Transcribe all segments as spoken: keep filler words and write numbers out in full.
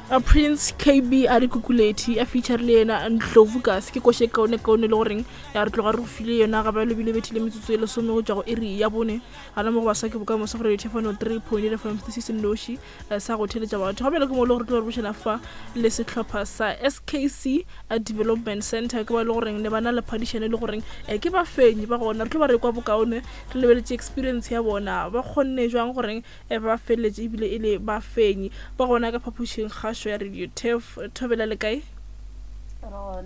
A Prince K B a re kukulethi a feature le yena Ndlovu kasi ke koše kaone kaone le goreng ya re tloga re go file yona ga ba lebile bethile metsotso e lesome go tšwa go iri ya bone gana mo go basa ke bokamoso gore thefano three point eight F M se se noši sa go theletša batho ga bjale ke mo le gore tlo re bošana fa le sehlopha sa S K C Development Center ke ba le goreng ne ba na le phadišano le goreng ke ba fenyi ba gona re tlo ba re kwa bokaone re lebeletše experience ya bona ba kgonne jwang goreng ba felletše ebile e le ba fenyi ba gona ka phapošing kgašo ya Radio Turf. Thobela le kae?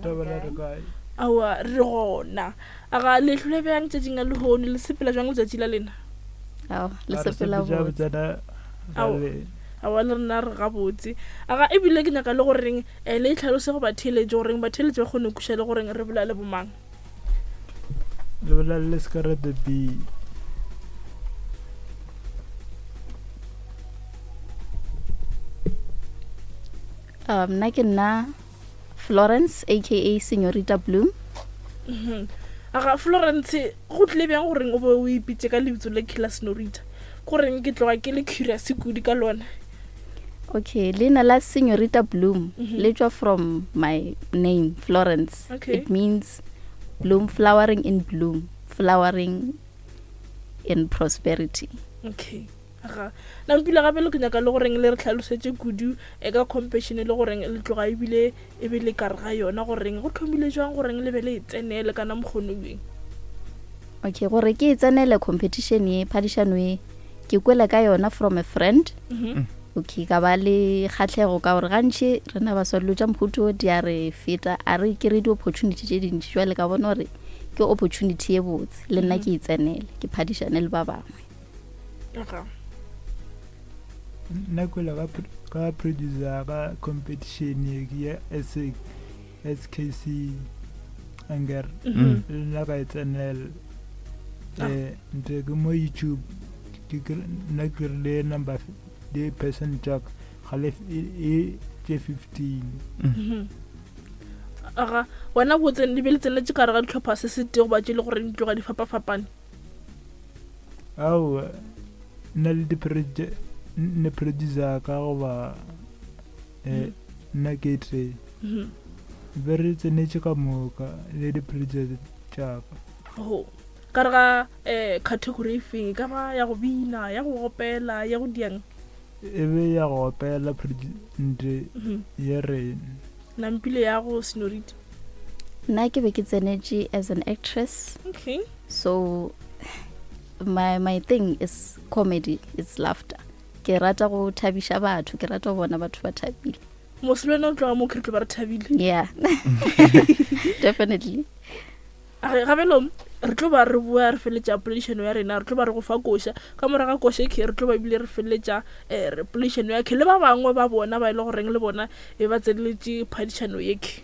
Thobela le kae? Aowa re gona. A ga le hlole bjang tšatšing la lehono le sepela jwang letšatši la lena? Ao, le sepela botse. Aowa le rena re gabotse. A ga ebile ke nyaka le goreng le itlhalose go batheeletši goreng batheeletši ba kgone go kweša le goreng re bolela le bomang. Le bolela le Scarlet B. Um, nna ke nna Florence aka Senorita Bloom. Mhm. Aga Florence go tlile bjang goreng o be o ipitše ka lebitso le Killer Senorita? Goreng ke tloga ke le curious kudu ka lona. Okay, leina la Senorita Bloom mm -hmm. le tšwa from my name Florence. Okay. It means bloom, flowering in bloom, flowering in prosperity. Okay. Ga nampile gape le ke nyaka le goreng le re tlhalosetše kudu e ka competition le goreng le tloga ebile e be le kare ga yona goreng go thomile jwang goreng le be le e tsenele kana mokgono weng. Okay, gore ke e tsenele competition ye phadišano ye ke kwele ka yona from a friend. Mm -hmm. Okay, ka ba le kgatlhego ka gore gantši rena baswa dilo tša mohuto di a re feta a re ke re di-opportunity tše dintši jwale ka bona gore ke opportunity ye botse le nna ke e tsenele ke phadišane le ba bangwe. Aga nna kwele ka producer ka competition ya S K C anger le nna ka e tsenela nte ke mo YouTube ke nna ke rile number di percent jack ga le e tše fifteen. Aga wena go tsene le be le tsenetše ka re ga dihlopha se se tee goba tše le gore di tloga di fapafapane? Aowa nna le di ne producer ka goba nna ke tee be re tsenetše ka moka le di-producer tšaka. Ho ka re ga um category e feng e ka ba ya go bina ya go opela ya go diang? E be ya go opela nte ye rena. Nampile ya go Senorita? Nna ke be ke tsenetše as an actress. Okay. So my my thing is comedy, it's laughter. Ke rata go thabiša batho, ke rata go bona batho ba thabile. Mos le wena o tloga mo ke re tlo ba re thabile. Yeah. Definitely. A gabelo re tlo ba re bua re feletša poledišano ya rena, re tlo ba re go fa koša ka morago ga koša ke re tlo ba ebile re feletša um poledišano ya ke le ba bangwe ba bona ba e le goreng le bona e ba tseneletše phadišano ye ke.